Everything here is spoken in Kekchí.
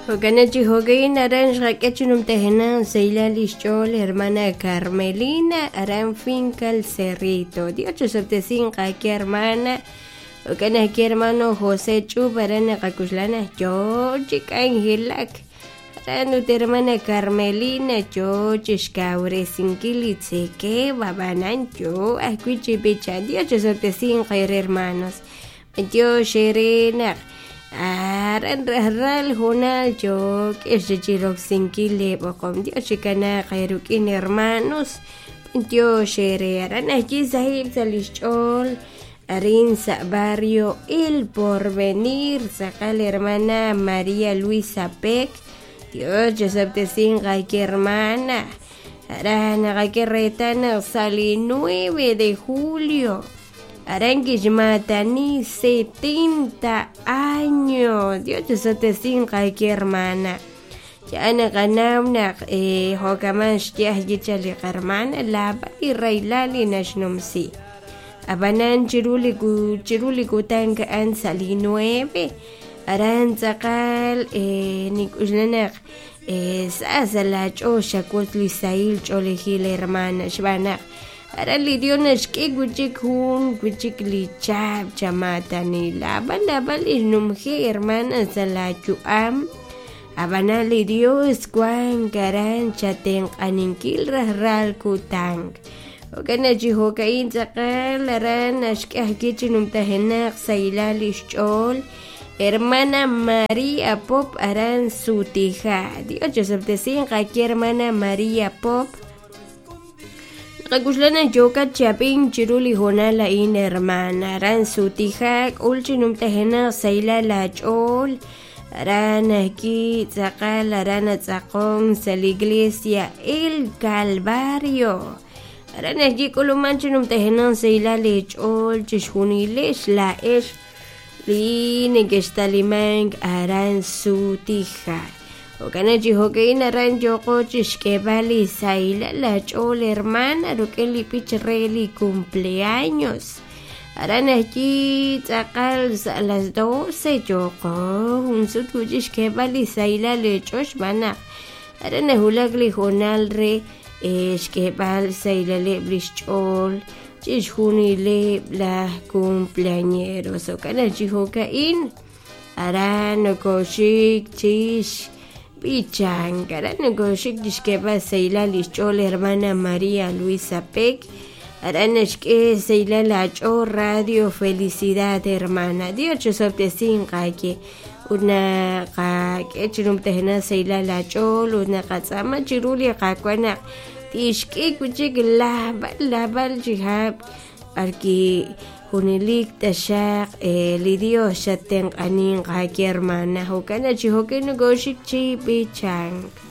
Jo'kan chi jo'kan aran xqak'e chi numtajenaq sahilal lix ch'ool hermana Carmelina aran finca El Cerrito. Dios chosob'tesinq aki hermana. Jo'kan ajwi' hermano José Ch'ub aran naqakuxlana yoo chi k'anjelak. Aran ut hermana Carmelina yoo chixkawresinkil li tzekeb' ab'anan yoo ajwi' chi b'ichank. Dios chosob'tesinq eere hermanos. B'antiox eere naq aran rajlal hoonal yook'ex chi roksinkil leeb'oqom. Dios chikanaaq eerik'in hermanos. B'antiox eere aran ajwi' sahib' sa' lix ch'ool arin sa' barrio El Porvenir tz'aqal hermana María Luisa Peck. Dios chosob'tesinq aki hermana. Aran naqak'e reetal naq sa' li 9 de julio aran kixmaatani 70 años. Dios chosob'tesinq aki hermana. Ya naqanaw naq jo'kaman xye ajwi' chaq li qarmana laab'al li rahilal li naxnumsi. Ab'anan chiru li chiru li kutan a'an sa' li 9 aran tz'aqal nink'uxla naq sa sa' laach'ool xawotz li sahil ch'oolejil hermana xb'aan naq aran li Dios naxk'e wi'chik jun wi'chik li chahab' chamaatani laab'al laab'al li xnumji hermana sa' laayu'am ab'anan li Dios wank aran chatenq'aninkil rajlal kutan. Jo'kan naq chi jo'ka'in tz'aqal aran naxk'e ajwi' chi numtajenaq sahilal lix ch'ool hermana María Pop aran Sutija. Dios chosob'tesinq aki hermana María Pop. Naqak'uxla naq yookat chi ab'ink chiru li hoonal a'in hermana aran Sutija k'ul chi numtajenaq sahilal laach'ool aran ajwi' tz'aqal aran atz'aqon sa' li iglesia El Calvario. Aran ajwi' k'uluman chi numtajenaq sahilal eech'ool chixjunilex laa'ex li neke'xtalimank aran Sutija. Jo'kan naq chi jo'ka'in aran yooqo chixk'eeb'al li sahilal laach'ool hermana rik'in li b'ich re li cumpleaños. Aran ajwi' tz'aqal sa' las 12 yooqo jun sut wi'chik xk'eeb'al li sahilal eech'ool xb'aan naq aran nawulak li hoonal re xk'eeb'al sahilaleb' lix ch'ool chixjunileb' laj cumpleañeros. Jo'kan naq chi jo'ka'in aran nokoxik chix b'ichank aran nokoxik chixk'eeb'al sahilal lix ch'ool hermana María Luisa Peck aran naxk'e sahilal aach'ool Radio Felicidad hermana. Dios chosob'tesinq aawe ut naqak'e chi numtajenaq sahilal aach'ool ut naqatz'aama chiru li Qaawa' naq tixk'e wi'chik laab'al laab'al chihab' b'arwi' junelik taxaq li Dios xattenq'aninq aawe hermana. Jo'kan naq chi jo'kan nokoxik chi b'ichank.